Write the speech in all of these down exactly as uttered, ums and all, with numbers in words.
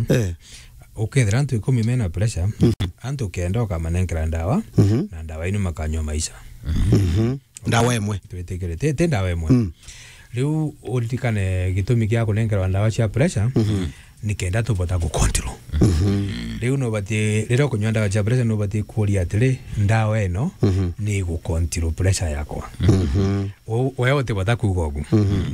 Eh. Ukethira antu ikumi mena pressure, antu kenda ukamanenkera ndawa, na ndawa inu makanyua maisha. Ndawa imwe. Twitikire, ti, ti ndawa imwe. Mm. Riu uririkane gitumi kia kunenkerwa ndawa cia pressure, ni kenda tubota ku control. Riu nubati, riria ukunyua ndawa cia pressure, nubati kuuria atiri, ndawa ino ni igu control pressure yakwa? U-, we utibota kuuga ugu.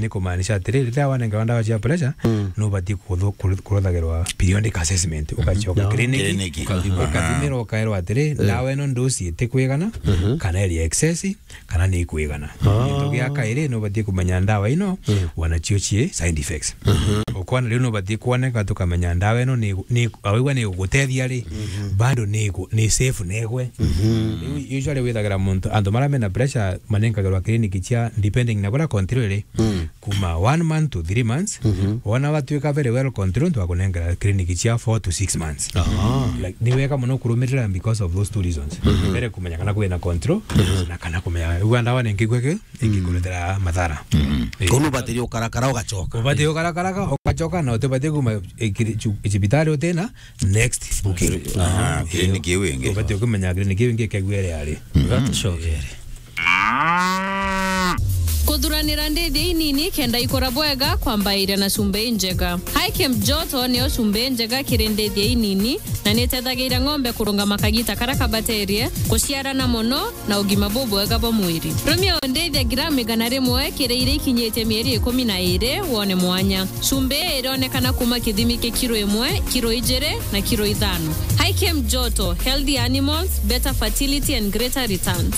Ni kumaanisha atiri, riria wanenkerwa ndawa cia pressure, nubati kuthu-, kuru-, kuruthagirwa periodic assessment, ugacoka clinic, ukathimirwa, ukairwa atiri, ndawa ino ndosi itikwigana, kana iri excess, kana ni ikwigana. Gintu gia kairi, nubati kumenya ndawa ino, wanacio cii side effects. Ukona riu nubati kuoneka tukamenya ndawa ino ni, ni, awaigua ni igugutethia ri, bado ni igu-, ni safe negwe. Riu usually withagira muntu, antu maria mena pressure manenkagirwa clinic cia, depending na kuria country iri, kuma one month to three months, wona watuika very well controlled, twakunenkera clinic cia four to six months. Like, ni wega muno kurumirira because of those two reasons. Mbere kumenya kana kwina control, na kana kumenya, ugua ndawa ni nkigwe ki, ingikuretera mathara. Eh. Kono batiri ukarakara ugacoka. Ubati ukarakara ugacoka, na utibati kuma, eh, kiri-, chu-, cibitari utina next booking. Ah, clinic iu ingi. Ubati kumenya clinic iu ingi kegwere ari. Ugatucokere. Kuthuranira ndithia inini kenda ikura bwega kwambairia na cumbi injega. Hikem Joto niyo cumbi injega kiri ndithia inini na nitethagiria ng'ombe kurungama kagita karia kabaterie, kuciarana mono na ugima bubwega bwa mwiri. Rumia ndithia gramu igana rimwe kiri iria ikinyitie mieri ikumi na iri wone mwanya. Cumbi ii irionekana kuma kithimi kia kiro imwe, kiro ijiri na kiro ithano. Hikem Joto, healthy animals, better fertility and greater returns.